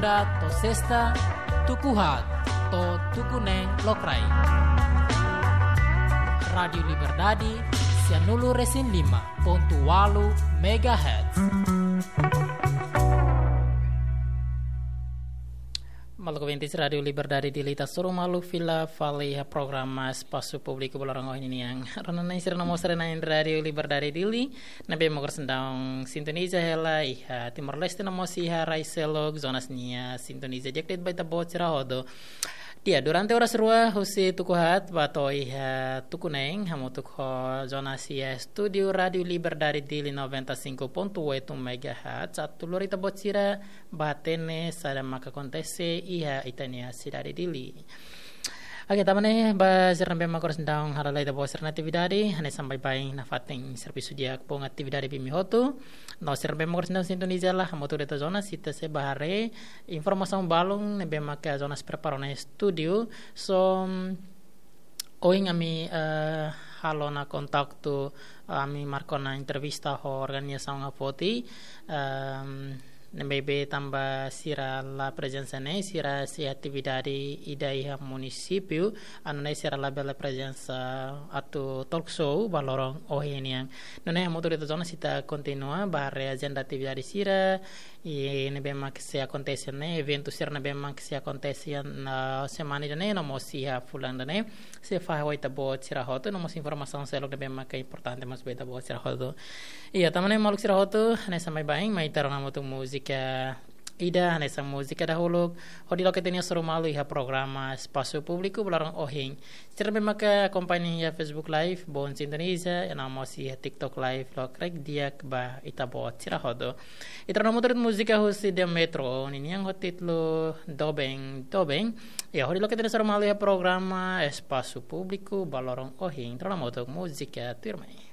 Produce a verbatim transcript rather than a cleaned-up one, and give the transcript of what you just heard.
To'o sesta, tuku haat to'o tuku neen lokraik. Rádiu Liberdade, sianulu-resin-lima pontu ualu megahertz. Maluk ouvintes Rádiu Liberdade Dili, ita hasoru malu fila fali iha programa Espasu Públiku ba loron ohin nian. Rona-na'in sira no mós rona-na'in Rádiu Liberdade Dili ne'ebé mak oras ne'e daudaun sintoniza hela iha Timor-Leste no mós iha rai seluk, zonas ne'ebé sintoniza di'ak de'it ba ita-boot sira hotu. Di'ak, durante oras rua husi tuku haat ba to'o iha tuku neen, hamutuk ho jornalista estúdiu Rádiu Liberdade Dili noventa e cinco ponto oito megahertz, atu lori ita-boot sira ba hatene saida maka akontese iha ita-nia sidade Dili. Oke, tanba ne'e ba sira ne'ebé mak oras ne'e daudaun hala'o lai ita-boot sira-nia atividade, hanesan baibain nafatin servisu di'ak, bom atividade ba imi hotu. No sira ne'ebé mak oras ne'e daudaun sintoniza hela, hamutuk ho ita-nia jornalista, ita sei bá haree informasaun balun ne'ebé maka jornalista prepara ona iha estúdiu. So, ohin ami, eh, halo ona kontaktu, ami marka ona entrevista ho organizasaun Afoti, ehm, ne'ebé tanba sira la prezensa ne'e, sira sei atividade ida iha munisípiu, anu ne'e sira labele prezensa atu talk show ba loron ohin nian. Nune'e hamutuk ho ita-nia jornalista ita kontinua bá haree ajenda atividade sira, i ne'ebé mak sei akontese ne'e, eventu sira ne'ebé mak sei akontese iha semana ida-ne'e no mós iha fulan ida-ne'e, sei fahe ba ita-boot sira hotu, no mós informasaun seluk ne'ebé mak importante mós ba ita-boot sira hotu. Iha, tanba ne'e maluk sira hotu, hanesan baibain, mai ita rona hamutuk múzika ida, hanesan múzika dahuluk, hodi loke ita-nia hasoru malu iha programa Espasu Públiku ba loron ohin. Sira ne'ebé maka akompaña iha Facebook Live, bom sintoniza, i no mós iha TikTok Live, lokraik di'ak ba ita-boot sira hotu. Ita rona hamutuk múzika husi The Metro ninian ho títulu Doben, Doben. Iha, hodi loke ita-nia hasoru malu iha programa Espasu Públiku ba loron ohin. Ita rona hamutuk múzika tuirmai.